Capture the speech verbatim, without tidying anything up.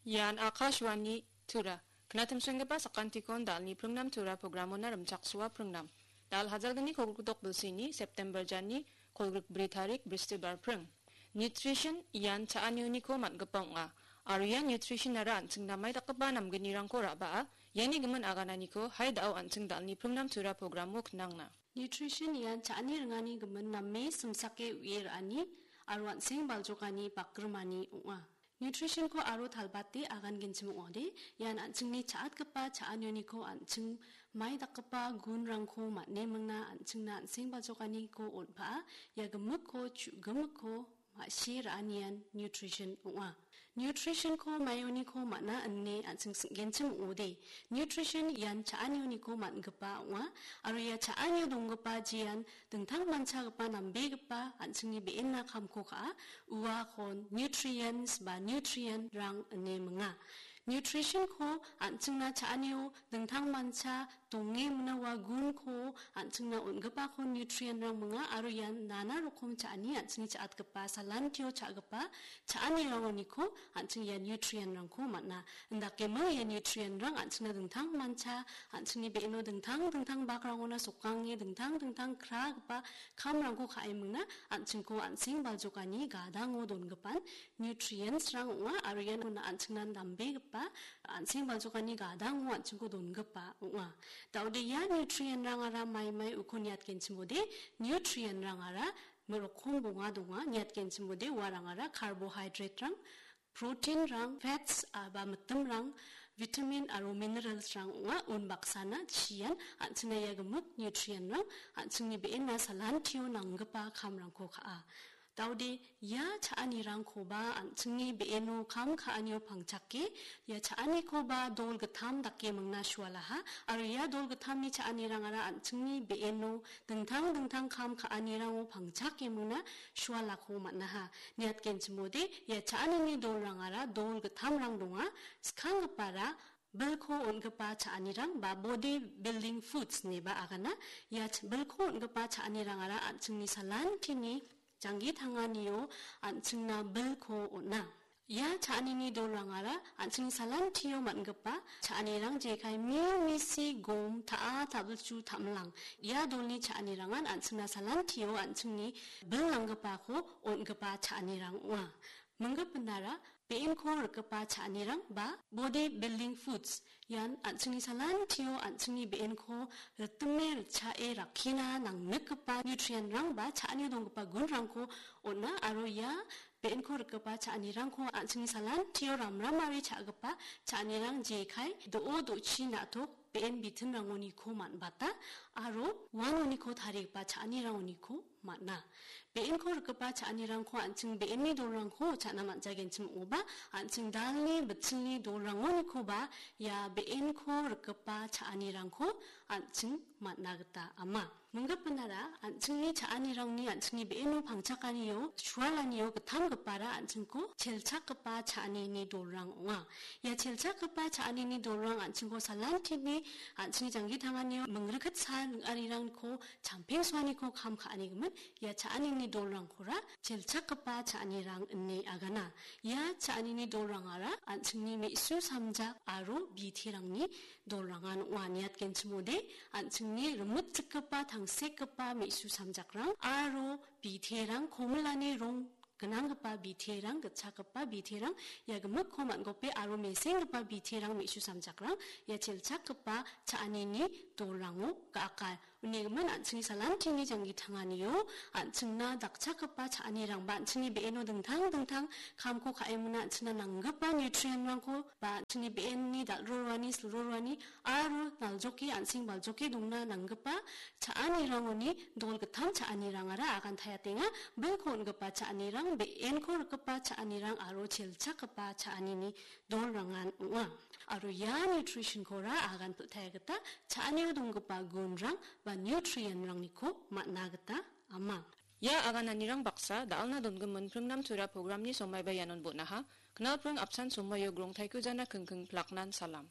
Ian Akashvani Tura. Knatimsenggipa sakantikon dalni pringnam Tura programona rimchaksoa pringnam. Dal hajalgni kolgrikdok bilsini September jani kolgrik bri tarik Bristibar pring. Nutrition ian cha·anioniko man·gipa ong·a. Aro ia nutritionara an·ching namai dakgipa namgnirangko ra·baa, iani gimin agananiko hai da·o an·ching dalni pringnam Tura programo knangna. Nutrition ian cha·ani ringani gimin name simsake u·e ra·ani aro an·seng baljokani bakgrimani ong·a. Nutritionko aro talbate agangenchim ong·ode, ian an·chingni cha·atgipa cha·anioniko an·ching mai dakgipa gunrangko man·e mingna an·chingna an·seng baljokaniko on·paa, ia gimikko chu·gimikko ma·sie ra·anian nutrition ong·a. Nutritionko maioniko man·a ine an·ching sing·genchim ong·ode, nutrition ian cha·anioniko man·gipa ong·a, aro ia cha·anio donggipa jean dingtang manchagipa nambegipa an·chingni be·enna kamko ka·a, uakon nutrients ba nutrient-rang ine minga. Nutritionko an·chingna cha·anio dingtang mancha donge mingna ua gunko an·chingna on·gipako nutrient-rang minga aro ian nana rokom cha·ani an·chingni cha·atgipa salantio cha·gipa cha·anirangoniko an·ching ia nutrient-rangko man·a. Indakeming ia nutrient-rang an·chingna dingtang mancha, an·chingni be·eno dingtang dingtang bakrangona sokange dingtang dingtang kragipa kamrangko ka·e mingna an·chingko an·seng baljokani gadango dongipan nutrients-rang ong·a aro ian an·chingna nambegipa an·seng baljokani gadango an·chingko dongipa ong·a. Da·ode ia nutrient-rangara maimai uko niatgenchimode nutrient-rangara rokom bonga donga. Niatgenchimode uarangara carbohydrate-rang, protein-rang, fats, a, ba mitimrang, vitamin aro minerals-rang ong·a. Unbaksana chian an·chingna ia gimik nutrient-rang an·chingni be·enna salantio nanggipa kamrangko ka·a. Da·ode ia cha·anirangkoba an·chingni be·eno kam ka·anio pangchake, ia cha·anikoba dol gittam dake mingna sualaha, aro ia dol gittamni cha·anirangara an·chingni be·eno dingtang dingtang kam ka·anirango pangchake mingna sualako man·aha. Niatgenchimode ia cha·anini dolrangara dol gittamrang donga, skanggipara bilko on·gipa cha·anirang ba body building foods ineba agana. Ia ch-, bilko on·gipa cha·anirangara an·chingni salantini janggi tanganio an·chingna bilko on·a. Ia cha·anini dolrangara an·chingni salantio man·gipa cha·anirang jekai mil, misi, gom, ta·a, ta·bilchu, ta·milang. Ia dolni cha·anirangan an·chingna salantio an·chingni bil nanggipako on·gipa cha·anirang ong·a. Minggipinara be·enko rikgipa cha·anirang ba body building foods. Ian an·chingni salantio an·chingni be·enko ritime ritchae rakkina nangnikgipa nutrient-rang ba cha·anio donggipa gunrangko on·a aro ia be·enko rikgipa cha·anirangko an·chingni salantio ramramari cha·gipa cha·anirang jekai do·o do·chi na·tok be·en bitinrangoniko man·bata aro uanoniko tarigipa cha·anirangoniko man·a. Be·enko rikgipa cha·anirangko an·ching be·enni dolrangko cha·na man·jagenchim ong·oba, an·ching dalni bitchingni dolrangonikoba ia be·enko rikgipa cha·anirangko an·ching man·na gita ama. Minggipinara an·chingni cha·anirangni an·chingni be·eno pangchakanio, sualanio gittamgipara an·chingko chelchakgipa cha·anini dolrang ong·a. Ia chelchakgipa cha·anini dolrang an·chingko salantini an·chingni janggi tanganio mingriket sa ning·arirangko champengsoaniko kam ka·anigimin ia cha·anini dolrangkora chelchakgipa cha·anirang ine agana. Ia cha·anini dolrangara an·chingni me·su samjak aro biterangni dolrangan ong·a. Niatgenchimode an·chingni rimitjikgipa tangsekgipa me·su samjakrang aro biterang komilani rong gnanggipa biterang, gitchakgipa biterang, ia gimikko man·gope aro mesenggipa biterang me·su samjakrang ia chelchakgipa cha·anini dolrango ga·aka. Unigimin an·chingni salantini janggi tanganio an·chingna dakchakgipa cha·anirangba an·chingni be·eno dingtang dingtang kamko ka·emona an·chingna nanggipa nutrient-rangko ba an·chingni be·enni dal·roroani, silroroani aro naljoke an·seng baljoke dongna nanggipa cha·anirangoni dol gittam cha·anirangara agantayatenga. Bilko on·gipa cha·anirang, be·enko rikgipa cha·anirang aro chelchakgipa cha·anini dolrangan ong·a. Aro ia nutrition-kora agan pil·taia gita cha·anio donggipa gunrang ba nutrient-rangniko man·a gita ama. Ia agananirang baksa da·alna dongimin pringnam tura programni somaiba ianon bon·aha. Knalpring apsan somaio grongtaiko jana kingking plaknan salam.